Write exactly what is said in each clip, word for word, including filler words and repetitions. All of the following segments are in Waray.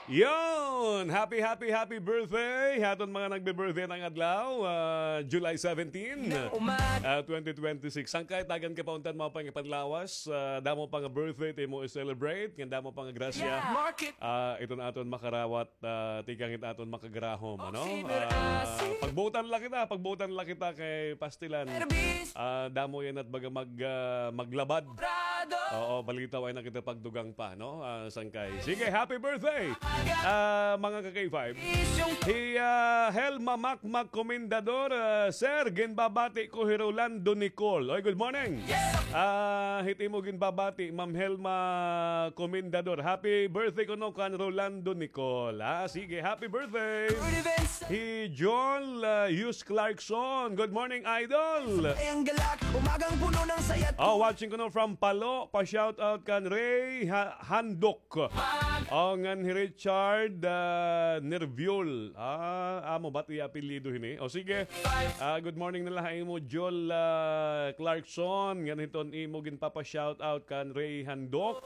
Yon! Happy, happy, happy birthday ha aton mga nagbe-birthday ngada adlaw, ah, July seventeen, ah, twenty twenty-six. Sangkay, tagan ka pa unta hin maupay nga panlawas, ah, damo pa nga birthday it imo i-celebrate, ngan damo pa nga grasya. Ah, iton aton makarawat, ah, tikang hit aton makagarahom, ano? Ah, pagbuotan la kita, pagbuotan la kita kay pastilan. Ah, damo yana it baga mag-, ah, maglabad. Oo, balitaw ay nakita pagdugang pa, no? Ah, sangkay. Sige, happy birthday, ah, mga ka-K five. Hi, ah, Helma Makmak Comendador, ah, sir, ginbabati ko hi Rolando Nicole. Oy, good morning. Ah, hit imo ginbabati, Ma'am Helma Comendador. Happy birthday kuno kan Rolando Nicole. Ah, sige, happy birthday. Hi Joel, ah, Yus Clarkson. Good morning, idol. Ay, ang galak, umagang puno ng saya. Oh, watching kuno from Palo. Pa-shoutout kan Ray Ha-, Handok. Oh, ngan hi Richard, ah, Nerviol. Ah, amo ba it iya apelyido hini? O sige. Ah, good morning na la ha imo, Joel, ah, Clarkson. Ngan hiton imo ginpapa-shoutout kan Ray Handok.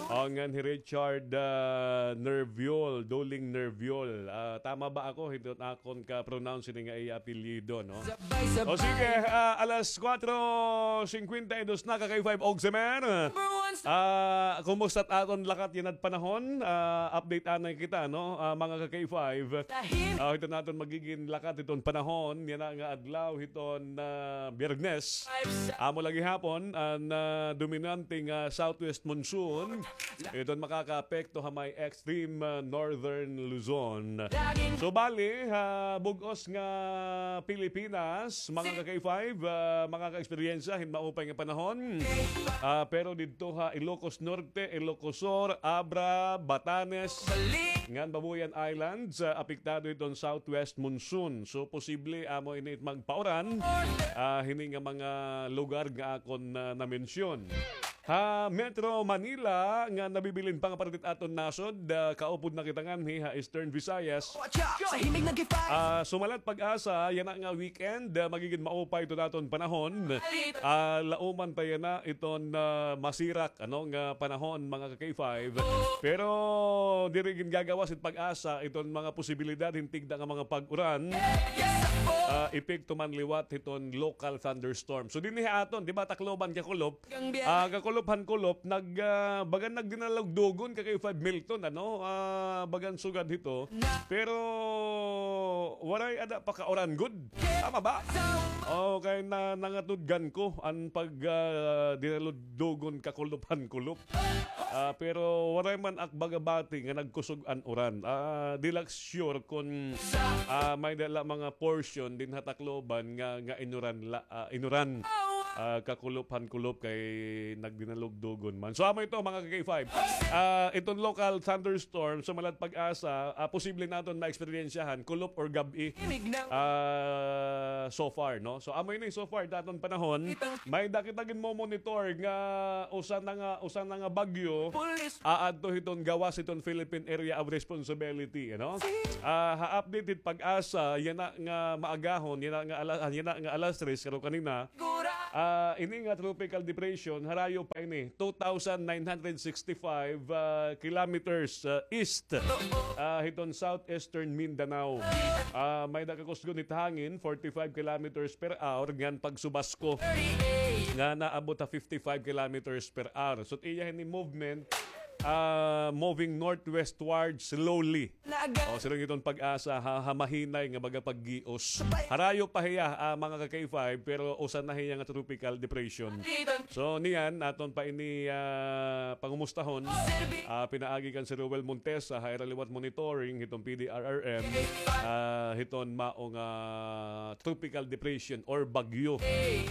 Oh, ngan hi Richard, ah, Nerviol, Doling Nerviol. Ah, tama ba ako? Hiton akon ka-pronounce ini nga iya apelyido, no? O sige, ah, alas kuwatro singkwenta y dos na, ka-K five Ogsemer. Ah, kumusta it aton lakat yana it panahon? Ah, update anay kita, no? Ah, mga ka-K five. Ah, hiton aton magigin lakat hiton panahon yana nga adlaw hiton, ah, Biyernes. Amo la gihapon an, ah, dominante nga southwest monsoon. Iton makakaapekto ha may extreme, ah, northern Luzon. So, bali, ha bug-os nga Pilipinas, mga ka-K five, ah, makaka-eksperyensya hin maupay nga panahon. Ah, pero didto ha Ilocos Norte, Ilocos Sur, Abra, Batanes, ngan Babuyan Islands, ah, apektado hiton southwest monsoon. So, posible amo ini it magpauran, ah, hini nga mga lugar nga akon, ah, namensyon. Ha Metro Manila nga nabibilin pa nga parte it aton nasod, ah, kaupod na kita nganhi ha Eastern Visayas. Sa himig nag-, ah, sumalat PAGASA, yana nga weekend, ah, magigin maupay iton aton panahon. Ah, lauman ta yana iton, ah, masirak, ano, nga panahon, mga ka-K five. Pero diri gingagawas it PAGASA iton mga posibilidad hin tigda nga mga pag-uran. Ah, epekto man liwat hiton local thunderstorm. So, dinhi ha aton, di ba, Tacloban, Cacolop, ah, kakulop han kulop, nag, ah, bagan nagdinalugdugon, ka-K five Milton, ano? Ah, bagan sugad hito. Pero waray ada pakauran gud. Tama ba? Okay, na, nangatudgan ko an pag, ah, dinalugdugon kakulop han kulop. Ah, pero waray man ak baga bati nga nagkusog an uran. Ah, di la ak sure kon, ah, may-ada la mga portion dinhi ha Tacloban nga, nga inuran la, ah, inuran. Ah, kakulop han kulop kay nagdinalugdugon man. So, amo ito, mga ka-K five. Ah, iton local thunderstorm, sumalat PAGASA, ah, posible naton ma-eksperyensyahan, kulop or gab-i. Ah, so far, no? So, amo ini so far, daton panahon. May-ada kita ginmo-monitor nga usa na nga, usa na nga bagyo, aadto hiton gawas hiton Philippine Area of Responsibility, ano? Ah, ha update hit PAGASA, yana nga maagahon, yana nga ala-, yana nga alas tres, karo kanina, ah, ini nga tropical depression, harayo pa ini, two thousand nine hundred sixty-five, ah, kilometers, ah, east, ah, hiton southeastern Mindanao. Ah, may-ada kakusgon hit hangin, forty-five kilometers per hour, ngan pagsubasko nga naabot ha fifty-five kilometers per hour. So, iya hini movement, ah, moving northwestward slowly. O, siring hiton PAGASA, ha, ha mahinay nga baga paggios. Harayo pa hiya, ah, mga ka-K five, pero usa na hiya nga tropical depression. So, niyan, aton pa ini, ah, pangumustahon. Ah, pinaagi kan Sir Roel Montesa, ha ira liwat monitoring, hiton P D R R M, ah, hiton mao nga tropical depression or bagyo.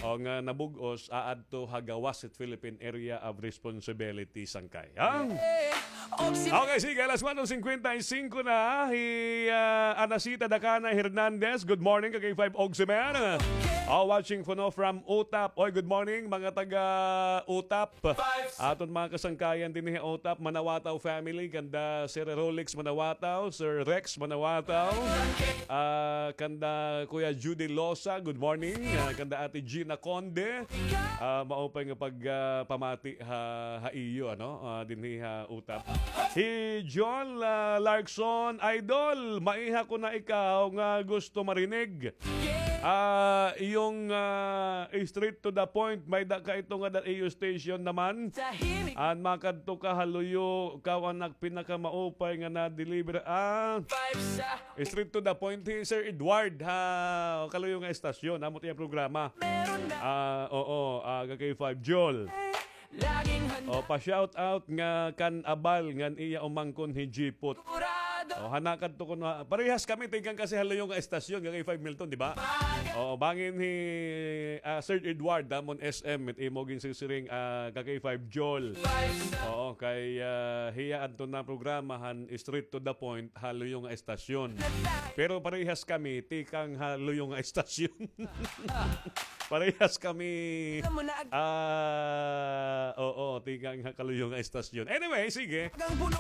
O nga nabug-os, aadto ha gawas hit Philippine Area of Responsibility, sangkay. Ha? Okay, sige, alas kuwatro singkwenta y singko na. Hi, ah, Anacita Dakana Hernandez. Good morning, ka-K five Ogsemer. Oh, watching kuno from Utap. Oy, good morning, mga taga Utap. Aton mga kasangkayan dinhi ha Utap, Manawataw family, kanda Sir Rolex Manawataw, Sir Rex Manawataw. Ah, kanda Kuya Judy Losa, good morning. Ah, kanda Ate Gina Conde. Ah, maupay nga pag, ah, pamati ha, ha iyo, ano? Ah, dinhi ha Utap. Hi John, ah, Larkson, Idol, maiha ko na ikaw nga gusto marinig. Ah, iyong, ah, straight to the point, may da ka ito nga da iyo station naman. An makadto ka ha luyo, kaw an nagpinakamaupay nga na-deliver. Ah, straight to the point, hi Sir Edward, ha, kaluyo nga estasyon, amo it iya programa. Ah, oo, ah, K five Jol. O, pa-shout out nga kan Abal ngan iya umangkon hi Jipot. O, hana kadto kuno, parehas kami, tikang kasi ha luyo nga estasyon, nga K five Milton, di ba? O, bangin hi, ah, Sir Edward, amon S M, it imo ginsisiring, ah, ka K five Jol. Oo, kay, ah, hiya adto na programa han straight to the point, ha luyo nga estasyon. Pero parehas kami, tikang ha luyo nga estasyon. Parehas kami. Ah, oo, tikang ha kaluyo nga estasyon. Anyway, sige.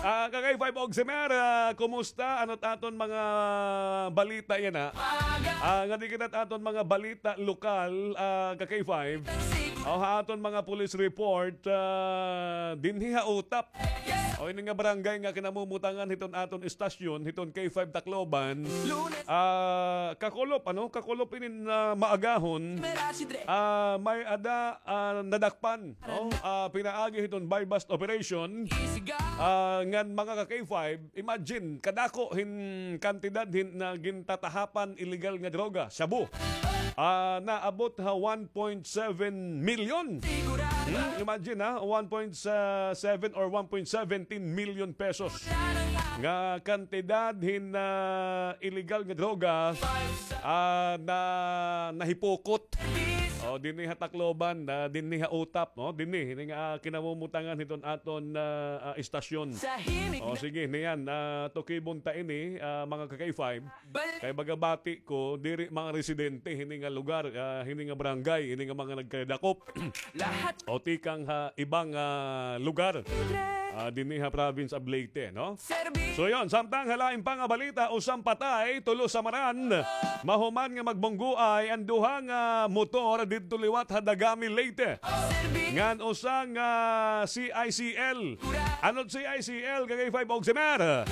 Ah, ka K five Ogsimer, ah, kumusta? Ano it aton mga balita yana? Ah, ngadi kita it aton mga balita lokal, ah, ka K five. O, ha aton mga police report, ah, dinhi ha Utap. O, ini nga barangay nga kinamumutangan hiton aton istasyon, hiton K five Tacloban. Ah, kakulop, ano? Kakulop ini nga maagahon. Ah, may-ada, ah, nadakpan, no? Ah, pinaagi hiton buy-bust operation. Ah, ngan mga ka K five, imagine, kadako hin kantidad hin na gintatahapan illegal nga droga, shabu. Ah, naabot ha one point seven million. Hmm, imagine, ha, one point seven or one point seventeen million pesos nga kantidad hin, ah, illegal nga droga, ah, na nahipukot. O, dinhi ha Tacloban, ah, dinhi ha Utap, no? Dinhi, hini nga, ah, kinamumutangan hiton aton, ah, ah, istasyon. O, sige, niyan, ah, tukibon ta ini, ah, mga ka K five. Kay baga bati ko, diri mga residente hini nga lugar, ah, hini nga barangay, hini nga mga nagkadakop. O tikang ha ibang, ah, lugar. Ah, dinhi ha province of Leyte, no? So yon, samtang ha lain pa nga balita, usa an patay, tulo samaran. Mahuman nga magbunggoay an duha nga motor didto liwat ha Dagami, Leyte. Ngan usa nga C I C L. Ano it C I C L, ka K five Ogsimer?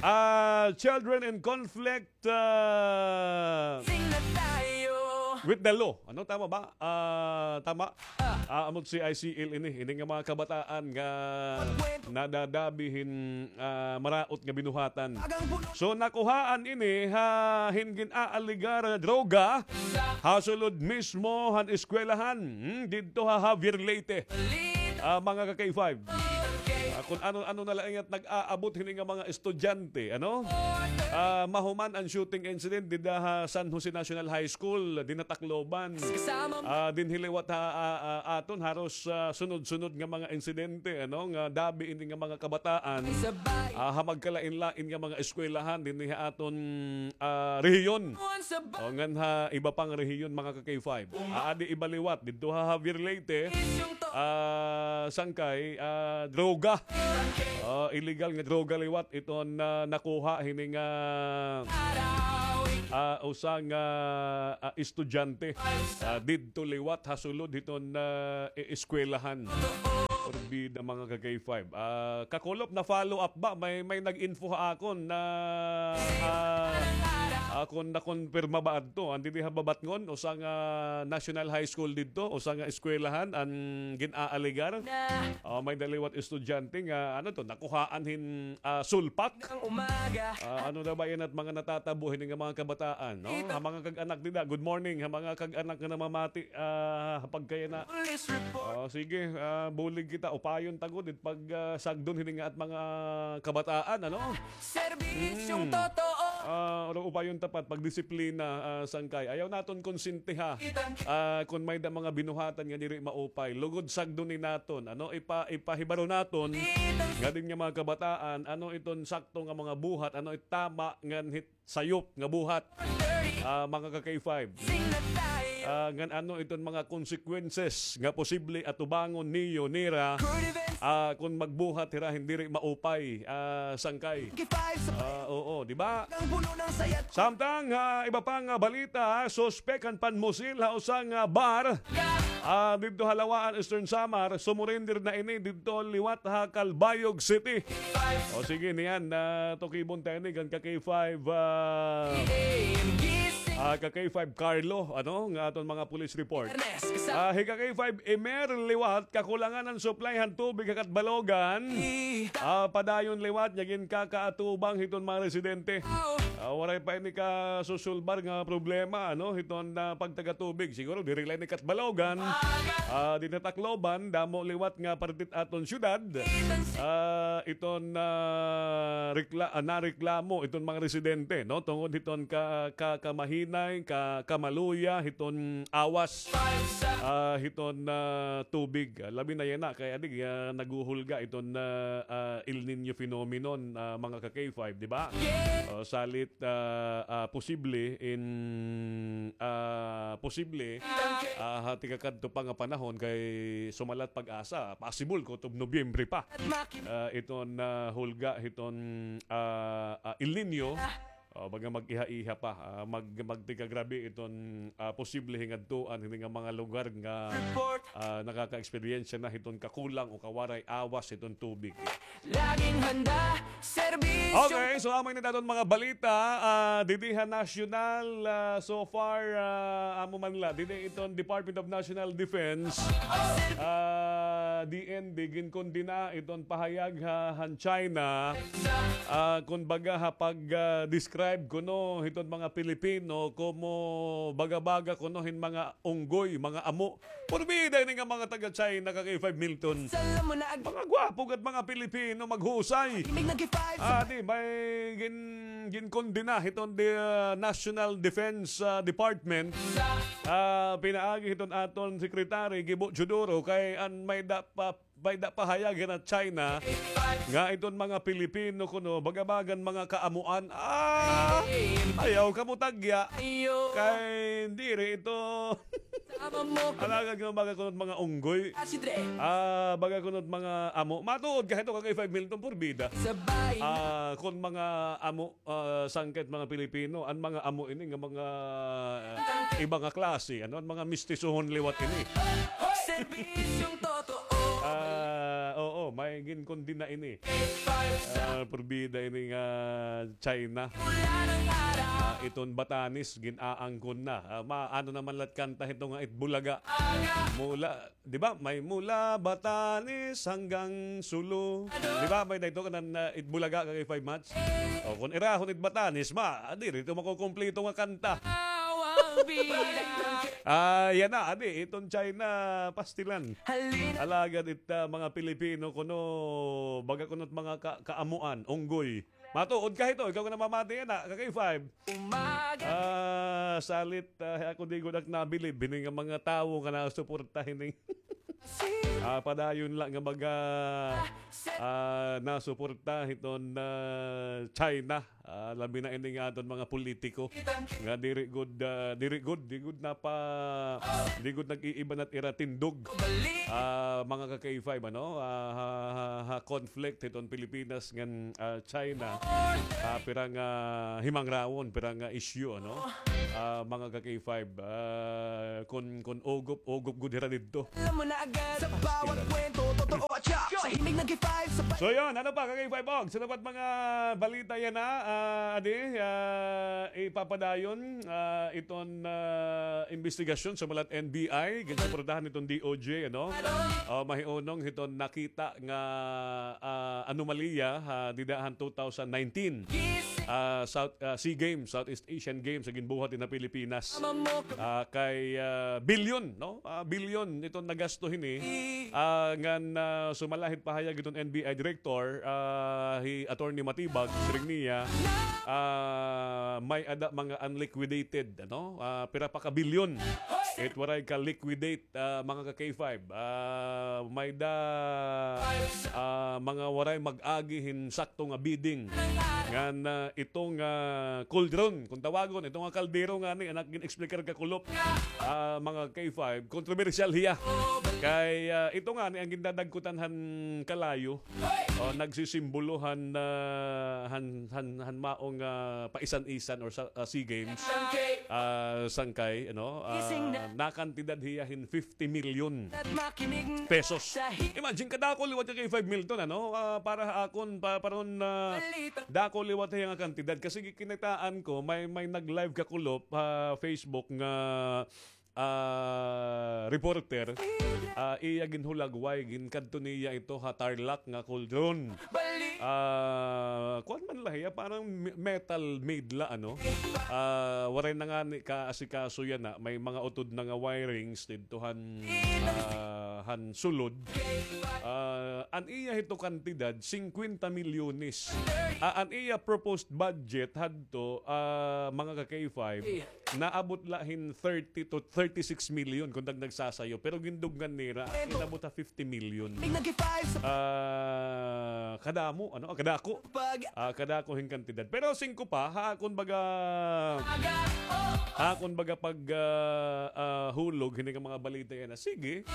Ah, Children in Conflict, ah, with the Law. Ano, tama ba? Ah, tama. Ah, amo it C I C L ini. Ini nga mga kabataan nga nadadabi hin, ah, maraot nga binuhatan. So, nakuhaan ini ha hin gin-aaligar nga droga ha sulod mismo han eskwelahan. Hmm, didto ha Javier, Leyte. Ah, mga ka K five. Ah, kon ano-ano na la it nag-aabot hini nga mga estudyante, ano? Ah, mahuman an shooting incident dida ha San Jose National High School, dinhi ha Tacloban. Ah, dinhi liwat ha, ah, ah, aton haros, ah, sunod-sunod nga mga insidente, ano, nga dabi ini nga mga kabataan. Ah, ha magkalain-lain nga mga eskwelahan dinhi ha aton, ah, rehiyon. O, ngan ha iba pang rehiyon, mga ka K five. Ah, adi iba liwat, didto ha Javier, Leyte, ah, sangkay, ah, droga. Ah, illegal nga droga liwat iton, ah, nakuha hini nga, ah, usa nga, ah, estudyante. Ah, didto liwat ha sulod hiton, ah, e-, eskwelahan. Porbida, mga ka K five. Ah, kakulop, na-follow up ba? May, may nag-info ha akon na, ah, akon nakumpirma ba adto. An didi ha Babatngon, usa nga National High School didto, usa nga eskwelahan, an gin-aaligar. Ah, may-ada liwat estudyante nga, ano to, nakuhaan hin, ah, sulpak. Ah, ano na ba yana it mga natatabo hini nga mga kabataan, no? Ha mga kag-anak dida, good morning, ha mga kag-anak nga namamati, ah, ha pagkayana. Ah, sige, ah, bulig kita, upayon ta gud it pag, ah, sagdon hini nga it mga kabataan, ano? Serbisyong totoo. Ah, upayon ta pa it pagdisiplina, ah, sangkay. Ayaw naton konsintiha. Ah, kon may-ada mga binuhatan nga diri maupay, lugod sagdoni naton, ano, ipa-, ipahibaro naton nga dinhi nga mga kabataan, ano iton sakto nga mga buhat, ano it tama ngan hit sayop nga buhat. Ah, mga ka K five. ah, ngan ano iton mga consequences nga posible atubangon niyo nira, ah, kon magbuhat hira hin diri maupay, ah, sangkay. Ah, oo, di ba? Samtang, ah, iba pa nga balita, suspek han panmusil ha usa nga bar, ah, didto ha Lawaan, Eastern Samar, sumurrender na ini didto liwat ha Calbayog City. O sige, niyan, ah, tukibon ta ini kan ka K five, ah, ah, ka K five Carlo, ano, nga aton mga police report. Ah, hi ka K five Emer liwat, kakulangan an supply han tubig ha Catbalogan. Ah, padayon liwat, niya ginkakaatubang hiton mga residente. Ah, waray pa ini kasusulbar nga problema, ano, hiton, ah, pagtaga tubig. Siguro, diri la ini Catbalogan. Ah, dinhi ha Tacloban, damo liwat nga parte hit aton syudad. Ah, iton, ah, rekla-, ah, nareklamo iton mga residente, no? Tungod hiton ka, ka, kamahinay, ka, kamaluya, hiton awas, ah, hiton, ah, tubig. Ah, labi na yana kay adi, ah, naghuhulga iton, ah, ah, El Niño phenomenon, ah, mga ka K five, di ba? O, salit, ah, ah, posible in, ah, posible, ah, ha tigkakadto pa nga panahon kay sumalat PAGASA, possible kutob Nobyembre pa. Ah, iton, ah, hulga hiton, ah, ah, El Niño, o, baga mag-iha-iha pa, ah, mag-, magtikagrabe iton, ah, posible hingadtuan hini nga mga lugar nga, ah, nakaka-eksperyensya na hiton kakulang o kawaray awas hiton tubig. Laging handa, serbisyo. Okay, so amo ini aton mga balita, ah, didi ha national, ah, so far, ah, amo man la, didi iton Department of National Defense, ah, D N D, ginkondena iton pahayag ha, han China, ah, kon baga ha pag, ah, describe kuno hiton mga Pilipino komo baga-baga kuno hin mga unggoy, mga amo. Purbida ini nga mga taga-China, ka K five Milton. Mga gwapo gad mga Pilipino, maghusay. Ah, di, may gin-, ginkondena hiton the, ah, National Defense, ah, Department. Ah, pinaagi hiton aton Secretary Gibo Teodoro kay an may da pa, may da pahayag han China nga iton mga Pilipino kuno baga-bagan mga kaamuan. Ah, ayaw kamo tagya. Kay diri ito. Alagad nga baga kuno mga unggoy. Ah, baga kuno mga amo. Matuod ka hito, ka K five Milton, purbida. Ah, kon mga amo, ah, sangkay mga Pilipino, an mga amo ini nga mga, ah, iba nga klase, ano, an mga mistisohon liwat ini. Serbisyong totoo. Ah, oo, may ginkondena ini. Ah, purbida ini nga China. Ah, iton Batanes, gin-aangkon na. Ah, ma-, ano naman la it kanta hito nga Itbulaga. Mula, di ba? May mula Batanes hanggang Sulu. Di ba? May dayto kanan, ah, Itbulaga, ka K five Mats. O, kon irahon it Batanes, ma, diri ito makukumpleto nga kanta. Ah, yana, adi, iton China, pastilan. Alagad it, ah, mga Pilipino kuno, baga kuno it mga ka-, kaamuan, unggoy. Matuod ka hito, ikaw nga namamati yana, ka K five. Ah, salit, ah, ako di gud ak nabilib hini nga mga tawo nga nasuporta hini. Ah, padayon la nga mga, ah, nasuporta hiton, ah, China. Ah, labi na ini nga aton mga politiko nga diri gud, ah, diri gud, di gud napa-, di gud nag-iiba na it ira tindog. Ah, mga ka K five, ano, ah, ha, ha, ha conflict hiton Pilipinas ngan, ah, China. Ah, pira nga himangrawon, pira nga issue, ano? Ah, mga ka K five, ah, kon, kon ugop, ugop gud hira didto. Alam mo na agad sa bawat kwento, totoo at siya. Sa himig nag-five, sa pa- So yun, ano pa, ka K five Og? Sa dapat mga balita yana, ah, adi, ah, ipapadayon, ah, iton, ah, investigasyon sa malat N B I, ginsuportahan hiton D O J, ano? Ah, mahiunong hiton nakita nga, ah, anomalya, ah, dida han two thousand nineteen, ah, South, ah, SEA Games, Southeast Asian Games, sa ginbuhat dinhi ha Pilipinas. Ah, kay, ah, bilyon, no? Ah, bilyon iton nagasto hini. Ah, ngan, ah, sumala hit pahayag hiton N B I director, ah, hi Attorney Matibag, siring niya, ah, may-ada mga unliquidated, ano? Ah, pira pa ka bilyon. It waray ka-liquidate, ah, mga ka-K five. Ah, may-ada, ah, mga waray mag-agi hin sakto nga bidding. Ngan, ah, ito nga cauldron, kon tawagon, ito nga kaldero ngani, an ak gin-explicar kakulop, ah, mga ka-K five, kontrobersyal hiya. Kay, ah, ito ngani an gindadagkutan han kalayo. Oh, nagsisimbolo han, ah, han, han, han maong, ah, paisan-isan or sa, ah, SEA Games. Ah, sangkay, ano, ah, nakantidad hiya hin fifty million pesos. Imagine, kadako liwat ka-K five Milton, ano? Ah, para ha akon, pa, paron, ah, dako liwat hiya nga kantidad. Kasi kinitaan ko, may, may nag-live kakulop ha Facebook nga ah, reporter, ah, iya ginhulagway, ginkadto niya ito ha Tarlac nga cauldron. Ah, kuan man la hiya, parang me-, metal made la, ano? Ah, waray na ngani kaasikaso yana, may mga utod na nga wirings didto han, ah, han sulod. Ah, an iya hito kantidad, singkwenta milyones. Ah, an iya proposed budget hadto, ah, mga ka-K five, naabot la hin thirty to thirty-six million kon nagsasayo, pero gindugngan nira, inabot ha fifty million. Ah, kadamo, ano? Ah, kadako. Ah, kadako hin kantidad. Pero singko pa, ha akon baga, ha akon baga pag, ah, ah, hulog, hini nga mga balita yana. Sige,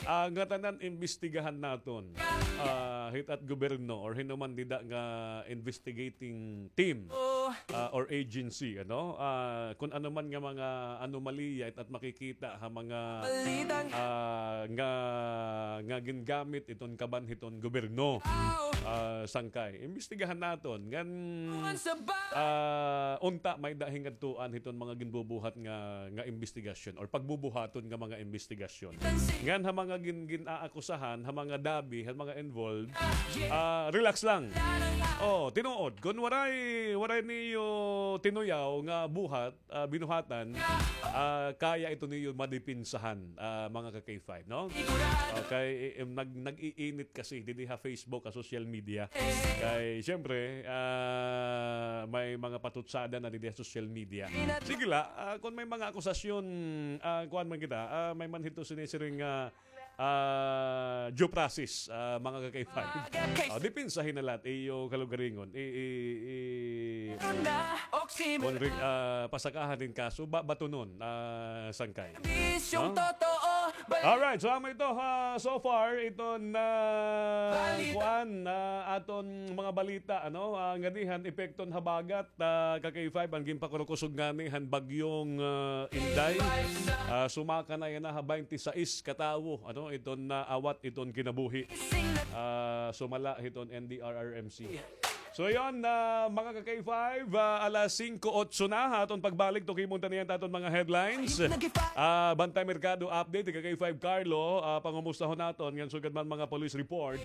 ah, ngatanan imbestigahan naton. Ah, hit-at gobyerno or hin-o man dida nga investigating team, ah, or agency, ano? Ah, kon ano man nga mga anomalya it-at makikita ha mga, ah, nga, nga gingamit iton kaban hiton gobyerno. Ah, sangkay. Imbestigahan naton. Ngan, ah, unta may-ada hin ngadtuan hiton mga ginbubuhat nga, nga imbestigasyon or pagbubuhaton nga mga imbestigasyon. Ngan ha mga gin-, gin-aakusahan, ha mga dabi, ha mga involved, ah, relax lang. Oh, tinuod, kon waray, waray niyo tinuyaw nga buhat, ah, binuhatan, ah, kaya ito niyo madipinsahan, ah, mga ka-K five, no? Okay, i-, im-, nag-, nag-iinit kasi didi ha Facebook, ha social media. Kay, siyempre, ah, may mga patutsada na didi ha social media. Sige la, ah, kon may mga akusasyon, ah, kuan man kita, ah, may man hito sinisiring nga, ah, due process, ah, mga ka-K five. Ah, dipinsahi na la it iyo kalugaringon. I, i, i, kon ri-, ah, pasakahan hin kaso, ba, batunon, ah, sangkay. No? Alright, so amo ito, ah, so far, iton kuan, ah, aton mga balita, ano, ah, nganhi han epekto han habagat, ah, ka-K five, an ginpakurukusog ngani han bagyong, ah, Inday. Ah, sumaka na yana ha baynte sais ka tawo, ano, iton naawat iton kinabuhi. Ah, sumala hiton N D R R M C. So, yun, ah, mga ka-K five, ah, alas singko otso na, ha aton pagbalik, tukimon ta niyan it aton mga headlines. Ah, Bantay Merkado update, ka-K five Carlo, ah, pangumustahon naton, ngan sugad man mga police report.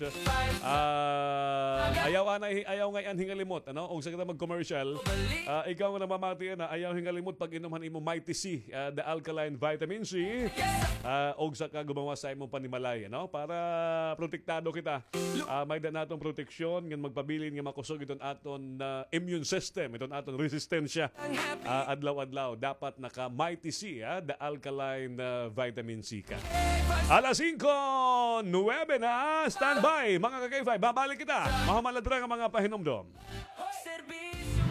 Ah, ayaw anay, ayaw ngay-an hingalimot, ano? Ugsa kita mag-commercial, ah, ikaw nga namamati yana, ayaw hingalimot pag-inom han imo Mighty C, ah, the alkaline vitamin C. Ah, ugsa ka gumawas sa imo panimalay, ano? Para protektado kita. Ah, may-ada naton proteksyon ngan magpabilin nga makusog iton aton, ah, immune system, iton aton resistensya. Ah, adlaw-adlaw dapat naka Mighty C, ah, the alkaline, ah, vitamin C ka. Alas singko nuwebe na, standby, mga ka-K five. Babalik kita. Mahuman la dira nga mga pahinumdom.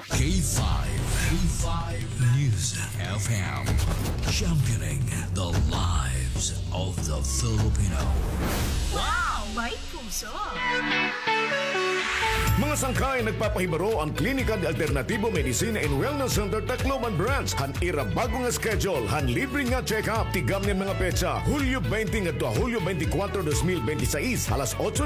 K five, K five News F M, championing the lives of the Filipino. Wow! May puso! Mga sangkay, nagpapahibaro an Klinika de Alternativo Medicina and Wellness Center Tacloban Branch han ira bag-o nga schedule han libre nga check-up. Tigam niyan mga petsa, Hulyo baynte ngadto ha Hulyo baynte kwatro, dos mil baynte sais, alas otso N